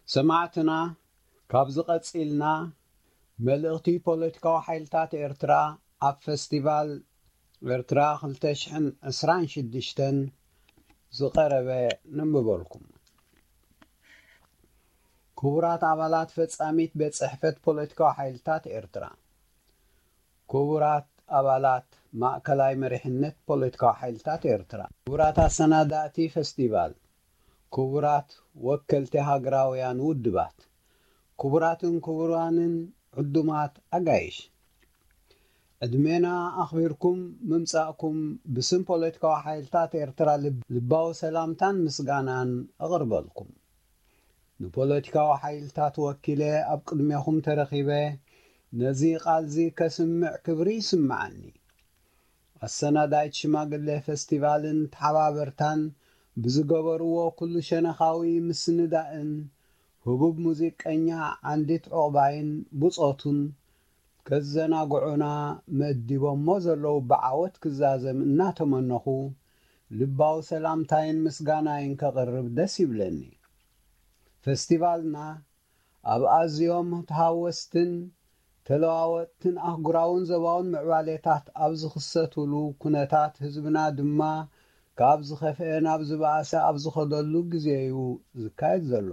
ሰማዕትና፣ ካብዚ ቀጺልና መልእኽቲ ፖለቲካዊ ሓይልታት ኤርትራ ኣብ ፈስቲቫል ኤርትራ ክልተ ሽሕን ዕስራን ሽዱሽተን ዝቐረበ ነንብበልኩም። ክቡራት ኣባላት ፈጻሚት ቤት ጽሕፈት ፖለቲካዊ ሓይልታት ኤርትራ፣ ክቡራት ኣባላት ማእከላይ መሪሕነት ፖለቲካዊ ሓይልታት ኤርትራ፣ ክቡራት ኣሰናዳእቲ ፈስቲቫል፣ ክቡራት ወከልቲ ሃገራውያን ውድባት፣ ክቡራትን ክቡራንን ዕዱማት ኣጋይሽ፣ ዕድሜና ኣኽቢርኩም ምምጻእኩም ብስም ፖለቲካዊ ሓይልታት ኤርትራ ልብ-፣ ልባዊ ሰላምታን ምስጋናን እቕርበልኩም። ንፖለቲካዊ ሓይልታት ወኪለ ኣብ ቅድሜኹም ተረኺበ ነዚ ቃልዚ ከስምዕ ክብሪ ይስምዓኒ። ኣሰናዳይት ሽማግሌ ፈስቲቫልን ተሓባበርታን ብዝገበርዎ ኩሉ ሸነኻዊ ምስንዳእን ህቡብ ሙዚቀኛ ዓንዲት ዑቕባይን ብጾቱን ከዘናግዑና መዲቦሞ ዘለዉ ብዓወት ክዛዘም እናተመነኹ፣ ልባዊ ሰላምታይን ምስጋናይን ከቕርብ ደስ ይብለኒ። ፈስቲቫልና ኣብ ኣዝዮም ተሃወስትን ተለዋወጥትን ኣህጉራውን ዞባውን ምዕባሌታት ኣብ ዝኽሰቱሉ ኩነታት፣ ህዝብና ድማ ካብ ዝኸፍአ ናብ ዝበኣሰ ኣብ ዝኸደሉ ግዜ እዩ ዝካየድ ዘሎ።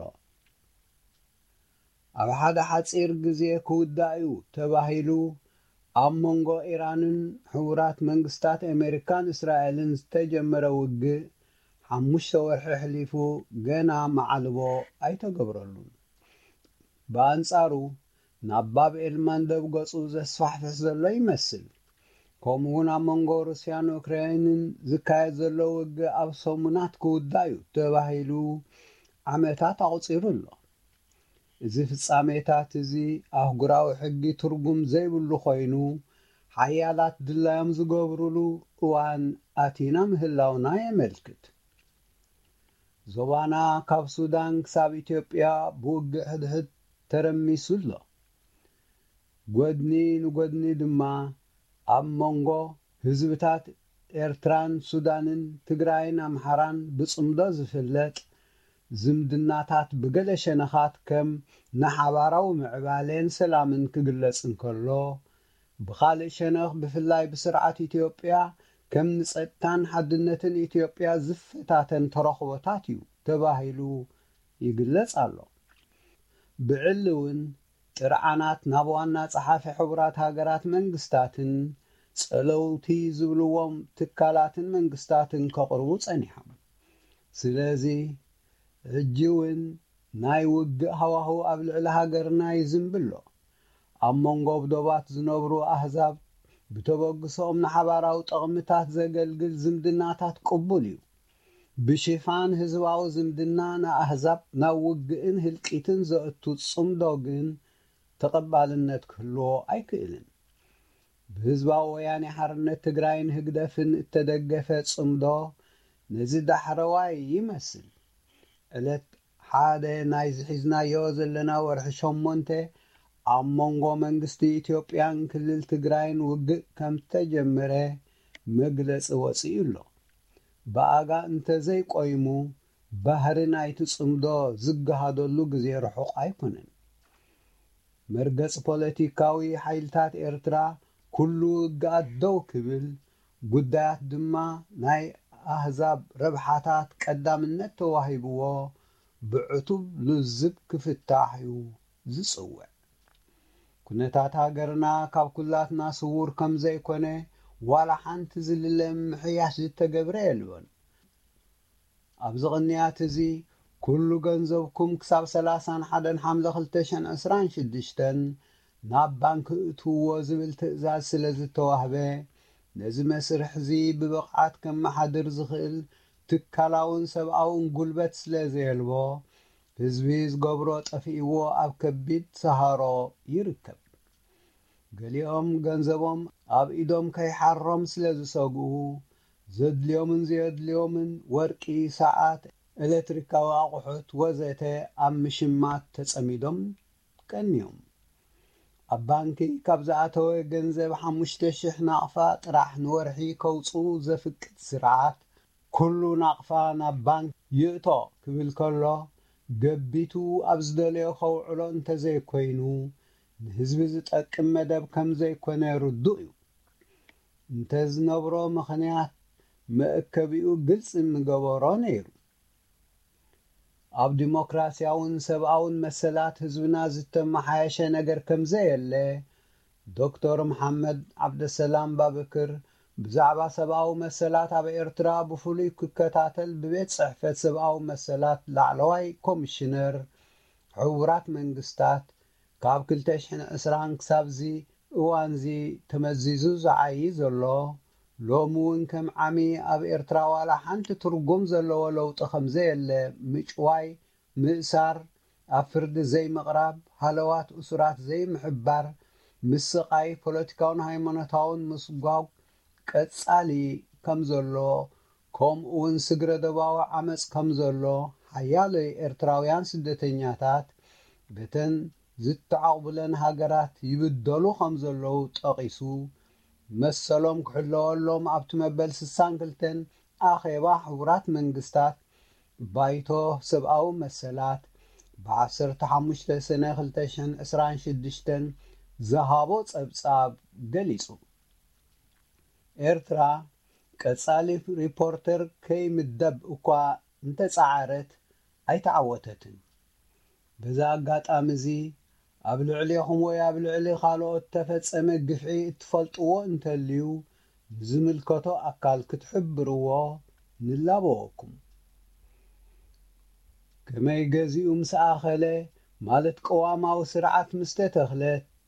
ኣብ ሓደ ሓጺር ግዜ ክውዳእ እዩ ተባሂሉ ኣብ መንጎ ኢራንን ሕቡራት መንግስታት ኣሜሪካን እስራኤልን ዝተጀመረ ውግእ ሓሙሽተ ወርሒ ኣሕሊፉ ገና መዓልቦ ኣይተገብረሉን። ብኣንጻሩ ናብ ባብ ኤል ማንደብ ገጹ ዘስፋሕፍሕ ዘሎ ይመስል። ከምኡውን ኣብ መንጎ ሩስያን ዩክሬንን ዝካየድ ዘሎ ውግእ ኣብ ሰሙናት ክውዳእ እዩ ተባሂሉ ዓመታት ኣቑጺሩ ኣሎ። እዚ ፍጻሜታት እዚ ኣህጉራዊ ሕጊ ትርጉም ዘይብሉ ኮይኑ፣ ሓያላት ድላዮም ዝገብሩሉ እዋን ኣቲና ምህላውና የመልክት። ዞባና ካብ ሱዳን ክሳብ ኢትዮጵያ ብውግእ ሕድሕድ ተረሚሱ ኣሎ። ጎድኒ ንጎድኒ ድማ ኣብ መንጎ ህዝብታት ኤርትራን ሱዳንን ትግራይን ኣምሓራን ብጽምዶ ዝፍለጥ ዝምድናታት ብገለ ሸነኻት ከም ንሓባራዊ ምዕባሌን ሰላምን ክግለጽ እንከሎ፣ ብኻልእ ሸነኽ ብፍላይ ብስርዓት ኢትዮጵያ ከም ንጸጥታን ሓድነትን ኢትዮጵያ ዝፈታተን ተረኽቦታት እዩ ተባሂሉ ይግለጽ ኣሎ። ብዕሊ እውን ጥርዓናት ናብ ዋና ጸሓፊ ሕቡራት ሃገራት መንግስታትን ጸለውቲ ዝብልዎም ትካላትን መንግስታትን ከቕርቡ ጸኒሖም። ስለዚ ሕጂ እውን ናይ ውግእ ሃዋህው ኣብ ልዕሊ ሃገርና ይዝንብሎ። ኣብ መንጎ ብዶባት ዝነብሩ ኣህዛብ ብተበግሶኦም ንሓባራዊ ጠቕምታት ዘገልግል ዝምድናታት ቅቡል እዩ። ብሽፋን ህዝባዊ ዝምድና ንኣህዛብ ናብ ውግእን ህልቂትን ዘእቱ ጽምዶ ግን ተቐባልነት ክህልዎ ኣይክእልን። ብህዝባዊ ወያኔ ሓርነት ትግራይን ህግደፍን እተደገፈ ጽምዶ ነዚ ዳሕረዋይ ይመስል። ዕለት ሓደ ናይዚ ሒዝናዮ ዘለና ወርሒ ሸሞንተ ኣብ መንጎ መንግስቲ ኢትዮጵያን ክልል ትግራይን ውግእ ከም ተጀመረ መግለጺ ወጺኡ ኣሎ። ብኣጋ እንተዘይቆይሙ ባህሪ ናይቲ ጽምዶ ዝገሃደሉ ግዜ ርሑቕ ኣይኮነን። መርገጽ ፖለቲካዊ ሓይልታት ኤርትራ ኩሉ ውግኣት ደው ክብል፣ ጉዳያት ድማ ናይ ኣህዛብ ረብሓታት ቀዳምነት ተዋሂብዎ ብዕቱብ ልዝብ ክፍታሕ እዩ ዝጽውዕ። ኩነታት ሃገርና ካብ ኩላትና ስዉር ከም ዘይኮነ ዋላ ሓንቲ ዝልለ ምሕያሽ ዝተገብረ የልቦን። ኣብዚ ቅንያት እዚ ኩሉ ገንዘብኩም ክሳብ ሰላሳን ሓደን ሓምለ ክልተ ሽሕን ዕስራን ሽዱሽተን ናብ ባንክ እእትውዎ ዝብል ትእዛዝ ስለ ዝተዋህበ፣ ነዚ መስርሕ እዚ ብብቕዓት ከመሓድር ዝኽእል ትካላውን ሰብኣውን ጉልበት ስለ ዘየልቦ፣ ህዝቢ ዝገብሮ ጠፊእዎ ኣብ ከቢድ ሰሃሮ ይርከብ። ገሊኦም ገንዘቦም ኣብ ኢዶም ከይሓሮም ስለ ዝሰግኡ፣ ዘድልዮምን ዘየድልዮምን ወርቂ፣ ሰዓት፣ ኤሌክትሪካዊ ኣቑሑት ወዘተ ኣብ ምሽማት ተጸሚዶም ቀንዮም። ኣብ ባንኪ ካብ ዝኣተወ ገንዘብ ሓሙሽተ ሽሕ ናቕፋ ጥራሕ ንወርሒ ከውጽኡ ዘፍቅድ ስርዓት፣ ኩሉ ናቕፋ ናብ ባንክ ይእቶ ክብል ከሎ፣ ገቢቱ ኣብ ዝደለዮ ከውዕሎ እንተዘይኮይኑ፣ ንህዝቢ ዝጠቅም መደብ ከም ዘይኮነ ርዱእ እዩ። እንተ ዝነብሮ ምኽንያት መእከቢኡ ግልጺ ምገበሮ ነይሩ። ኣብ ዲሞክራሲያውን ሰብኣውን መሰላት ህዝብና ዝተመሓየሸ ነገር ከም ዘየለ፣ ዶክተር መሓመድ ዓብደሰላም ባብክር ብዛዕባ ሰብኣዊ መሰላት ኣብ ኤርትራ ብፍሉይ ክከታተል ብቤት ጽሕፈት ሰብኣዊ መሰላት ላዕለዋይ ኮሚሽነር ሕቡራት መንግስታት ካብ ክልተ ሽሕን ዕስራን ክሳብዚ እዋንዚ ተመዚዙ ዝዓዪ ዘሎ፣ ሎሚ እውን ከም ዓሚ ኣብ ኤርትራ ዋላ ሓንቲ ትርጉም ዘለዎ ለውጢ ከም ዘየለ ምጭዋይ፣ ምእሳር፣ ኣብ ፍርዲ ዘይምቕራብ፣ ሃለዋት እሱራት ዘይምሕባር፣ ምስቓይ፣ ፖለቲካውን ሃይማኖታውን ምስጓግ ቀጻሊ ከም ዘሎ፣ ከምኡ እውን ስግረ ዶባዊ ዓመጽ ከም ዘሎ ሓያሎ ኤርትራውያን ስደተኛታት በተን ዝተዓቑብለን ሃገራት ይብደሉ ከም ዘለዉ ጠቒሱ፣ መሰሎም ክሕለወሎም ኣብቲ መበል ስሳን ክልተን ኣኼባ ሕቡራት መንግስታት ባይቶ ሰብኣዊ መሰላት ብ ዓሰርተ ሓሙሽተ ሰነ ክልተ ሽሕን ዕስራን ሽዱሽተን ዝሃቦ ጸብጻብ ገሊጹ። ኤርትራ ቀጻሊ ሪፖርተር ከይምደብ እኳ እንተጸዓረት ኣይተዓወተትን። በዚ ኣጋጣሚ እዚ ኣብ ልዕሌኹም ወይ ኣብ ልዕሊ ካልኦት ተፈጸመ ግፍዒ እትፈልጥዎ እንተልዩ ንዝምልከቶ ኣካል ክትሕብርዎ ንላበወኩም። ከመይ ገዚኡ ምስ ኣኸለ ማለት ቅዋማዊ ስርዓት ምስ ተተኽለ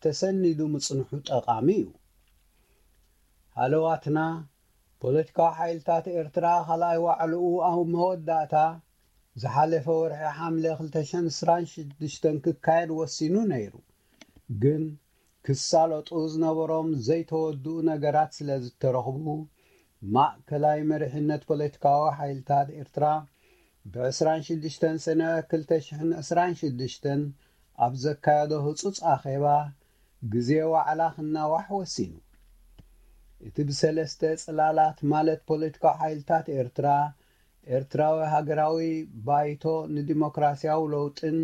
ተሰኒዱ ምጽንሑ ጠቓሚ እዩ። ሃለዋትና ፖለቲካዊ ሓይልታት ኤርትራ ካልኣይ ዋዕልኡ ኣብ መወዳእታ ዝሓለፈ ወርሒ ሓምለ ክልተ ሽሕን ዕስራን ሽዱሽተን ክካየድ ወሲኑ ነይሩ። ግን ክሳለጡ ዝነበሮም ዘይተወድኡ ነገራት ስለ ዝተረኽቡ ማእከላይ መሪሕነት ፖለቲካዊ ሓይልታት ኤርትራ ብ ዕስራን ሽዱሽተን ሰነ ክልተ ሽሕን ዕስራን ሽዱሽተን ኣብ ዘካየዶ ህጹጽ ኣኼባ ግዜ ዋዕላ ክናዋሕ ወሲኑ። እቲ ብሰለስተ ጽላላት ማለት ፖለቲካዊ ሓይልታት ኤርትራ፣ ኤርትራዊ ሃገራዊ ባይቶ ንዲሞክራሲያዊ ለውጥን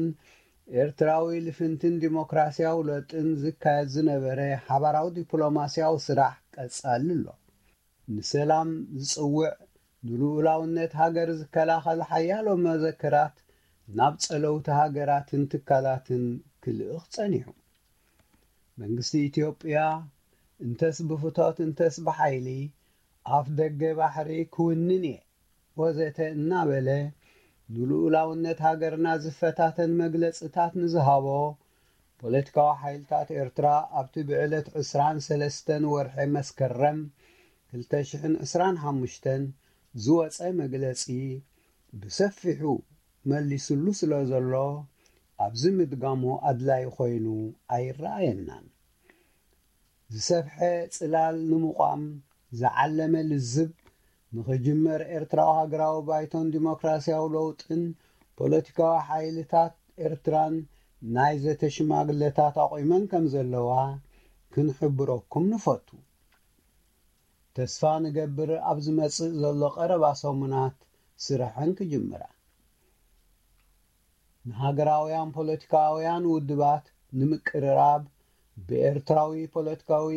ኤርትራዊ ልፍንትን ዲሞክራሲያዊ ለውጥን ዝካየድ ዝነበረ ሓባራዊ ዲፕሎማሲያዊ ስራሕ ቀጻሊ ኣሎ። ንሰላም ዝጽውዕ፣ ንልኡላውነት ሃገር ዝከላኸል ሓያሎ መዘክራት ናብ ጸለውቲ ሃገራትን ትካላትን ክልእኽ ጸኒሑ። መንግስቲ ኢትዮጵያ እንተስ ብፍቶት እንተስ ብሓይሊ ኣፍ ደገ ባሕሪ ክውንን እየ ወዘተ እናበለ ንልኡላውነት ሃገርና ዝፈታተን መግለጽታት ንዝሃቦ ፖለቲካዊ ሓይልታት ኤርትራ ኣብቲ ብዕለት ዕስራን ሰለስተን ወርሒ መስከረም ክልተ ሽሕን ዕስራን ሓሙሽተን ዝወጸ መግለጺ ብሰፊሑ መሊስሉ ስለ ዘሎ ኣብዚ ምድጋሙ ኣድላይ ኮይኑ ኣይረኣየናን። ዝሰፍሐ ጽላል ንምቋም ዝዓለመ ልዝብ ንኽጅመር ኤርትራዊ ሃገራዊ ባይቶን ዲሞክራሲያዊ ለውጥን ፖለቲካዊ ሓይልታት ኤርትራን ናይ ዘተ ሽማግለታት ኣቑመን ከም ዘለዋ ክንሕብረኩም ንፈቱ። ተስፋ ንገብር ኣብ ዝመጽእ ዘሎ ቀረባ ሰሙናት ስርሐን ክጅምራ። ንሃገራውያን ፖለቲካውያን ውድባት ንምቅርራብ ብኤርትራዊ ፖለቲካዊ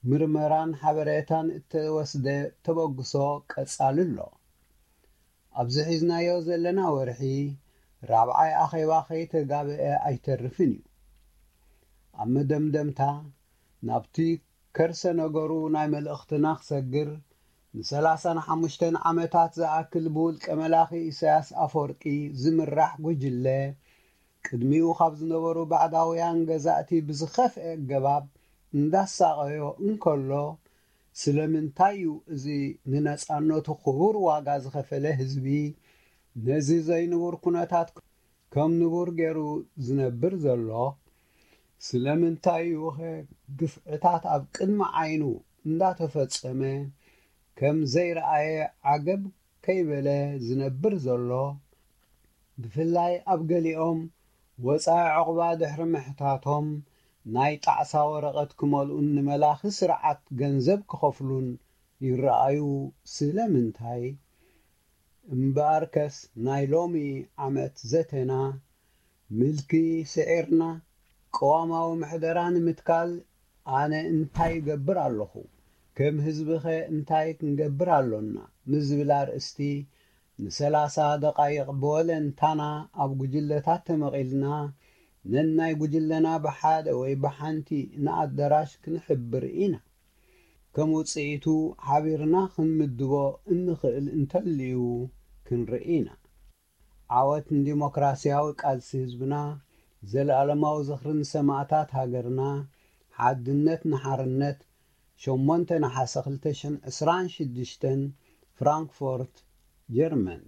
ምርመራን ሓበሬታን እተወስደ ተበግሶ ቀጻሊ ኣሎ። ኣብዚ ሒዝናዮ ዘለና ወርሒ ራብዓይ ኣኼባ ከይተጋብአ ኣይተርፍን እዩ። ኣብ መደምደምታ ናብቲ ከርሰ ነገሩ ናይ መልእኽትና ክሰግር ንሰላሳን ሓሙሽተን ዓመታት ዝኣክል ብውልቀ መላኺ ኢሳያስ ኣፈወርቂ ዝምራሕ ጉጅለ ቅድሚኡ ካብ ዝነበሩ ባዕዳውያን ገዛእቲ ብዝኸፍአ ኣገባብ እንዳሳቐዮ እንከሎ ስለምንታይ እዩ እዚ ንነጻነቱ ክቡር ዋጋ ዝኸፈለ ህዝቢ ነዚ ዘይንቡር ኩነታት ከም ንቡር ገይሩ ዝነብር ዘሎ? ስለምንታይ እዩኸ ግፍዕታት ኣብ ቅድሚ ዓይኑ እንዳተፈጸመ ከም ዘይረኣየ ዓገብ ከይበለ ዝነብር ዘሎ? ብፍላይ ኣብ ገሊኦም ወጻኢ ዕቑባ ድሕሪ ምሕታቶም ናይ ጣዕሳ ወረቐት ክመልኡን ንመላኺ ስርዓት ገንዘብ ክኸፍሉን ይረኣዩ። ስለምንታይ? እምበኣርከስ ናይ ሎሚ ዓመት ዘተና ምልኪ ስዒርና ቅዋማዊ ምሕደራ ንምትካል ኣነ እንታይ እገብር ኣለኹ፣ ከም ህዝብኸ እንታይ ክንገብር ኣሎና ንዝብል ኣርእስቲ ንሰላሳ ደቓይቕ ብወለንታና ኣብ ጉጅለታት ተመቒልና ነናይ ጉጅለና ብሓደ ወይ ብሓንቲ ንኣደራሽ ክንሕብር ኢና። ከም ውፅኢቱ ሓቢርና ክንምድቦ እንኽእል እንተልዩ ክንርኢ ኢና። ዓወት ንዲሞክራሲያዊ ቃልሲ ህዝብና፣ ዘለኣለማዊ ዝኽሪ ንሰማእታት ሃገርና፣ ሓድነት ንሓርነት። ሸሞንተ ነሓሰ ክልተ ሽሕን ዕስራን ሽዱሽተን፣ ፍራንክፎርት፣ ጀርመን።